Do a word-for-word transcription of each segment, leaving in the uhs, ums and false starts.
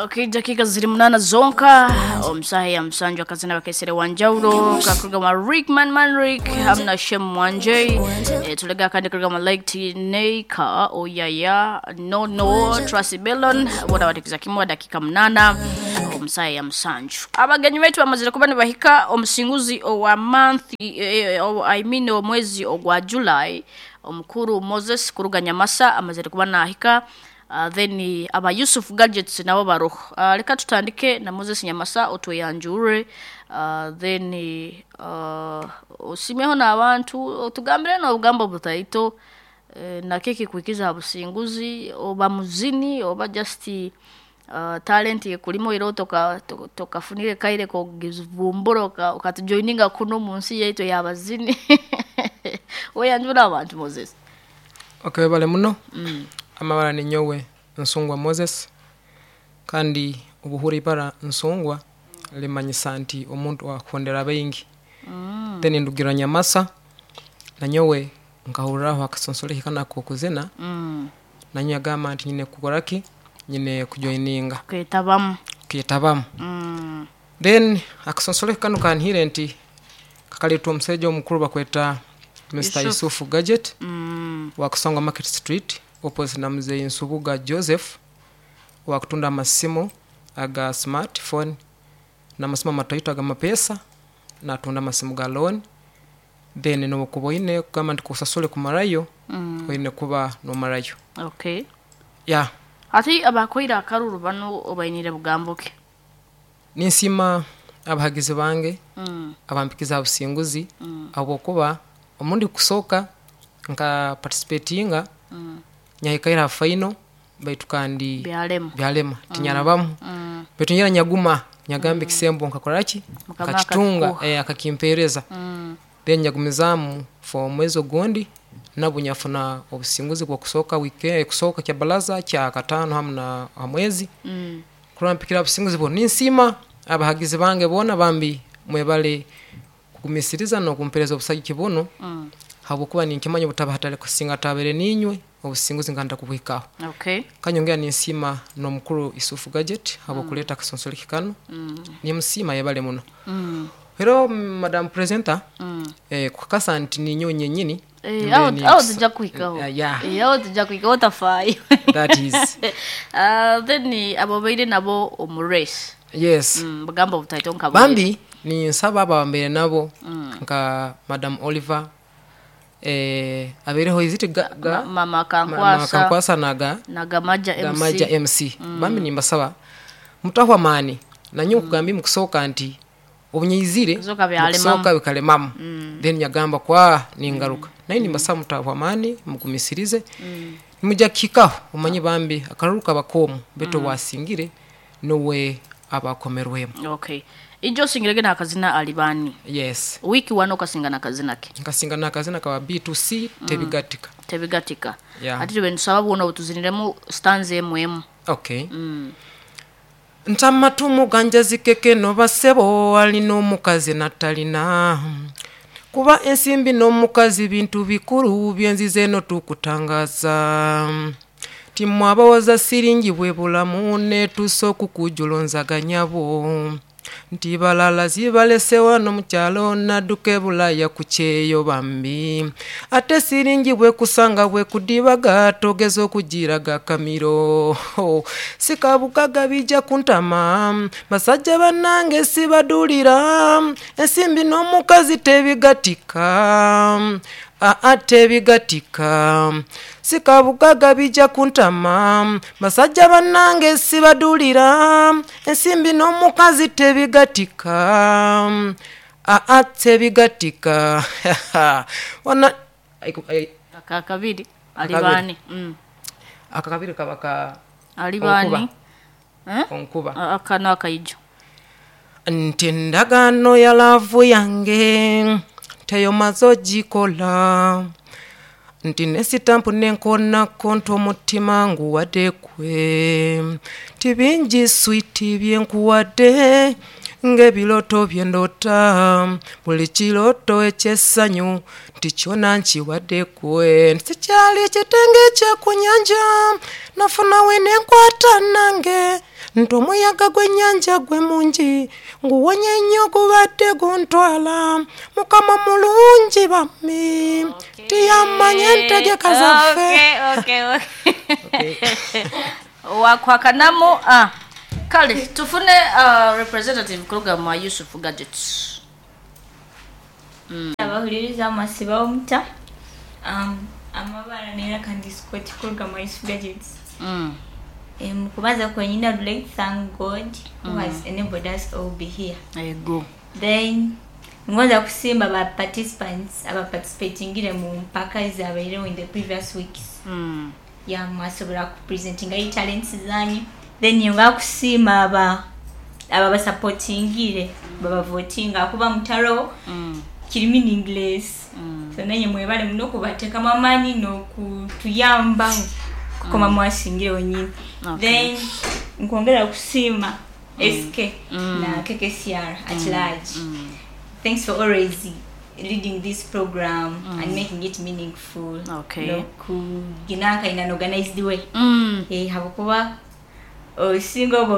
Okay, dakika ziri munana zonka omusaha ya musanju akazina bakesere wanjawulo kakurugama Rickman Manrick hamna Shem Mwanje e, tulega kandi kurugama Lake Neika Oyaya no no Tracy Bellon bona batikiza kimwe dakika munana omusaha ya musanju. Abagenyi betu bamazire kuba nibahika omusinguzi owa month e, o, I mean omwezi ogwa July omukuru Moses kuruga Nyamasa amazire kuba nahika. Uh, then aba Yusuf Gadgets nabo baroho. Uh, reka tutandike na Moses Nyamasa otweyanjure, uh, then uh, osimeho n'abantu otugambire n'obugambo butaito uh, nakeki kwikiza businguzi oba muzini oba just uh, talent yekulimo iro toka tokafunire kaire kogivumbura okatujoininga kuno mu nsi yaitu y'abazini. Weyanjura abantu Moses. Okay, bale muno. Mm. Amabara ni nyowe Nsungwa Moses, kandi obuhuri ibara Nsungwa limanyisa nti omuntu akondera baingi. Mm. Then ndugira Nyamasa na nyowe nkahuriraho akasonsole kana kokuzina. Mm. Na nyowe agamba nti nyine kukoraki nyine kujoininga kwetabamu kwetabamu. Mm. Then akasonsole kanu kanhire nti kakaletwa omusajja omukuru bakweta Mister Yusuf Gadget. Mm. Wakusonga Market Street opposite na mzee Nsubuga Joseph, wakutunda amasimu aga smartphone na masimu amatoito aga mapesa na tunda masimu ga loan. Then no kuboine kama ndikusasule kumarayo. Mm. Oine kuba no marayo. Okay. Yeah. Ati abakoira akaruru bano obainire bugamboke. Ninsima abahagizi bange. Mm. Abampikiza businguzi. Mm. Abo kuba omundi kusoka nka participatinga. Mm. Nyahikaira final baitu kandi byalema byalema tinyarabamu. Mm. Baitu nyira nyaguma nyagambe. Mm. Kisembo nkakoraki nkakitunga eh, akakimpereza. Mm. Then nyagumizamu for mwezi ogundi nabo nyafuna obusinguzi bwa kusoka weekend kusoka kya balaza kya katano hamwe na mwezi. Mm. Kurampikira obusinguzi bo ninsima abahagizi bange bona bambi mwebale kugumisiriza no kumpereza obusagiki buno. Mm. Habukuba ninkimanya butaba hatale kusinga tabere ninywe obusinguzi nganda kubuhikaho. Okay. Kanyongea ninsima no mukuru Yusufu Gadget habo. Mm. Kuleta kasonsole kikano. Mm. Ni msima yebale muno. Mm. Hello madam presenter. Mm. Eh kukasa nti ninyo nyenyini. Eh aho aho tujja kuhikaho. Uh, yeah. Eh aho tujja kuhikaho tafai. That is. Uh, then abo baire nabo omurace. Yes. Mm, bagamba butaito nkabo. Bambi ni nsaba abambere nabo. Mm. Nka madam Oliver eh abereho iziti ga, ga mama Kankwasa mama Kankwasa naga naga Maja M C Gamaja M C. Mm. Bambi nimbasaba mutahwa mani na nyo. Mm. Kugambi mukusoka nti obunyizire mukusoka bikalemamu. Mm. Then nyagamba kwa ningaruka. Mm. Naye nimbasaba mutahwa mani mugumisirize. Mm. Nimujja kikaho omanye bambi akaruka bakomu beto. Mm. Wasingire nowe abakomerwemu. Okay. Ijo singirege na kazina alibani. Yes. Wiki wano kasinga na kazina ke. Kasinga na kazina kawa B two C. Mm. Tebigatika. Tebigatika. Yeah. Ati tube sababu ono tuziniremu stanze M M. Okay. Mm. Ntamatumu ganja zikeke no basebo alino mukazi natalina. Kuba ensimbi no mukazi bintu bikuru byenzize no tukutangaza. Timu abawaza siringi bwe bulamu ne tusoku kujulonzaganyabo. Nti balala zibalese wano mu kyalo nadduka Bulaya ku kyeyo bambi. Ate siringi bwe kusanga bwe kudibaga togeza okugiraga kamiro. Sikabukaga bijja kuntama basajja bannange sibadulira ensimbi n'omukazi tebigatika. Aa tebigatika sikabukaga bijja kuntama basajja bannange sibadulira ensimbi n'omukazi tebigatika. Aa tebigatika. Wana akakabiri alibani. Mm. Akakabiri kabaka alibani eh onkuba akana akaijo nti ndagaano ya laavu yange teyomaze ogikola nti nesitampu nenkonako nti omutima nguwadde kwe nti bingi switi byenkuwadde ng'ebiroto bye ndota buli kiroto eky'essanyu nti kyona nkiwadde kwe nti sikyali kitenge kya ku nnyanja nafuna we nenkwata nange Nti omuyaga gw'ennyanja gwe mungi nguwonye nnyo gubadde guntwala. Mukama mulungi bammi tiyamanya entegeka zaffe. Okay, okay, okay. Wakwakanamu ah. Kale tufune uh, representative kuruga mwa Yusuf Gadgets. Mm. Abahuliriza masiba omuta um, amabara nera kandi Scott kuruga mwa Yusuf Gadgets. Mm. Um, kubanza kwenyina I'd like to thank God who Mm. has enabled us all be here. Ego. Then ngoza kusimba ba participants aba participatingire mu mpaka ezabaireho in the previous weeks. Mm. Ya mwasobola kupresentinga i talents zanyu. Then yonga kusiima aba aba basupportingire babavotinga kuba mutaro Mm. kiri meaningless. Mm. So nanyi mwebale muno kubateekamu amaanyi n'okutuyamba kukoma Mm. mwasingire wenyini. Okay. Then nkwongera kusiima S K Mm. na K K C R at Mm. large. Mm. Thanks for always leading this program Mm. and making it meaningful. Okay. Nokuginanka in an organized way. Mm. Eh, habwokuba osinga oba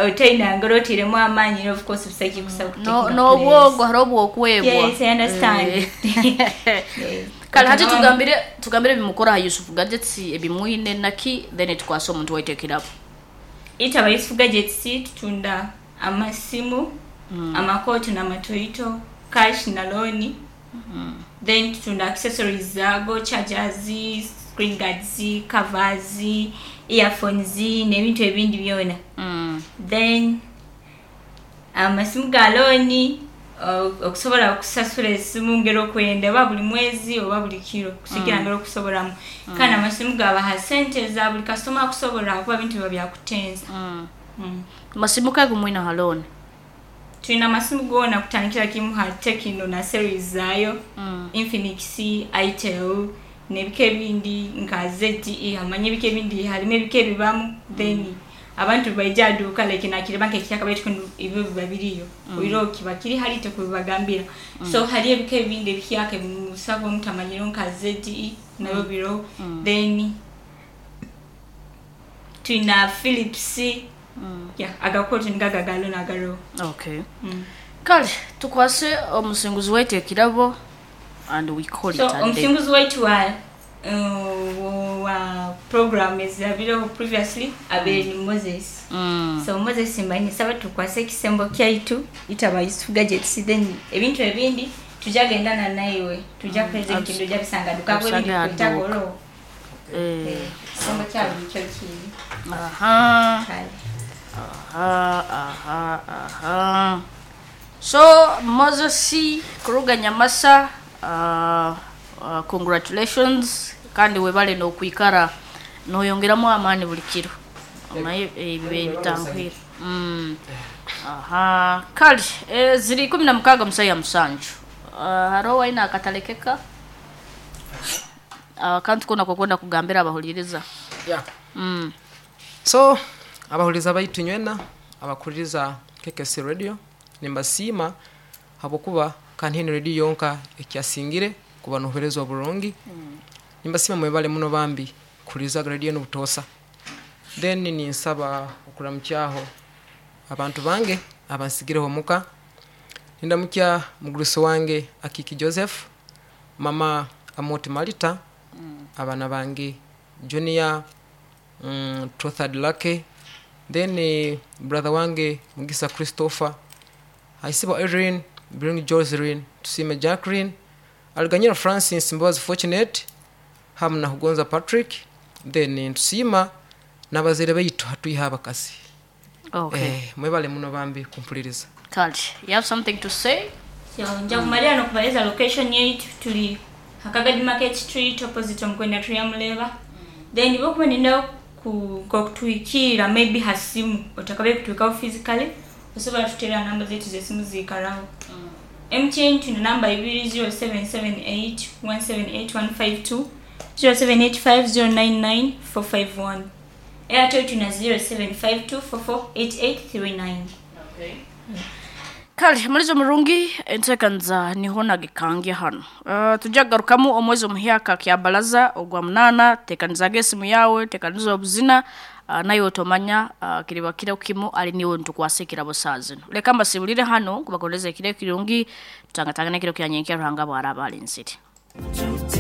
otaina ngero otiremu amaanyi of course busaki kusa No n'obwogo hariho obwokwebwa. Yes, I understand. Eh. Kale hati tugambire tugambire bimukora ha Yusuf Gadgets ebimwine naki then tukwasa omuntu waitekerapo. Itaba Yusuf Gadgets tutunda amasimu, Mm. amakooti n'amatoyito, cash na loan. Mm. Then tutunda accessories zago, chargers, screen guards, covers, earphones n'ebintu ebindi byona. Mm. Then amasimu ga loan okusobola okusasula esimu ngero okwenda oba buli mwezi oba buli kiro kusigira Mm. ngero okusobolamu. Mm. Kandi amasimu gabaha sente za buli kasitoma akusobola kuba bintu biba byakutenza. Mm. Mm. Masimu kago mwina ha loan? Tulina amasimu goona kutandikira kimu ha Tecno na series zaayo. Mm. Infinix, Itel n'ebika ebindi nka Z T E amanye ebika ebindi harimu ebika ebibamu. Then abantu baija aduuka like nakireba nk'ekyaka baitu ebyo biba biriyo. Mm. Oiro kiba kiri hari tekubibagambira. Mm. So hari ebika ebindi ebihyaka ebimusaba omutamanyiro nka Z T E nabyo Mm. biro. Mm. Then tulina Philips. Mm. Yeah, agakooti ngagagalo nagaro. Okay. Mm. Kale tukwase omusinguzi waitu ekirabo and we call So it a day. omusinguzi waitu wa uh, wa program ezabireho previously abeere ni Moses. Mm. So Moses mbanyi saba tukwase ekisembo kyaitu itaba Yusuf Gadgets then ebintu ebindi tujagendana naiwe tuja Mm. present Abs- ndoja bisanga duka Abisange ebindi aduka. kwetagoro. Eh. Eh, kisembo kyabo nikyo kiri. Aha. Kale. Aha, aha, aha. So Moses kuruga Nyamasa, uh, uh, congratulations kandi webale n'okwikara noyongeramu amaani buli kiro. Omaye ebibe bitankwira. Mm. Aha, kale eh, ziri kumi na mukaaga musaya musanju. Uh, hariho waina akatalekeka akantu kona kokwenda kugambira abahuliriza. Yeah. Mm. So abahuliriza baitu nywena abakuliriza K K C Radio nimbasiima habwokuba kanhini radio yonka ekyasingire kuba nobuherezwa burungi. Mm. Nimbasiima mwebale muno bambi kuliza radio n'obutosa. Then ninsaba okuramukyaho abantu bange abansigireho muka. Nindamukya mugurusi wange Akiki Joseph, mama Amoti Malita, Mm. abana bange Junior, mm, Trothad Lake, then eh, brother wange Mugisa Christopher, Aisibo Irene, Bring Joseline, Tusime Jacqueline, Aliganyira Francis Mbabazi Fortunate, hamu na Hugonza Patrick, then tusima n'abazaire baitu hatuiha abakazi. Okay. Eh, mwebale muno bambi kumpuliriza. Kale, you have something to say? So nja kumalira n'okubaleza location yaitu tuli Hakagadi Market Street opposite Omukwenda Tuyamuleba. Then bokuba nina ku kutuikira maybe hasimu otakabe kutuikaho physically osobola tutera namba zetu z'esimu ziikaraho. Mm. M T N tuna namba ibiri zero seven seven eight one seven eight one five two, zero seven eight five zero nine nine four five one. Airtel tuna zero seven five two four four eight eight three nine. Okay. Kale mulizo murungi entekanza niho nagikange hano. Uh, tujagarukamu omwezi omuhyaka kya balaza ogwa munana tekanizaga esimu yawe tekaniza obuzina uh, nayo otomanya uh, kiriba kiro kimu ali niwe ntukwasa ekirabo saa zino. Leka mbasibulire hano kubakondeza ekiro ekirungi, tutangatangana ekiro kya nyenkya Ruhanga bwaraba alinsiri.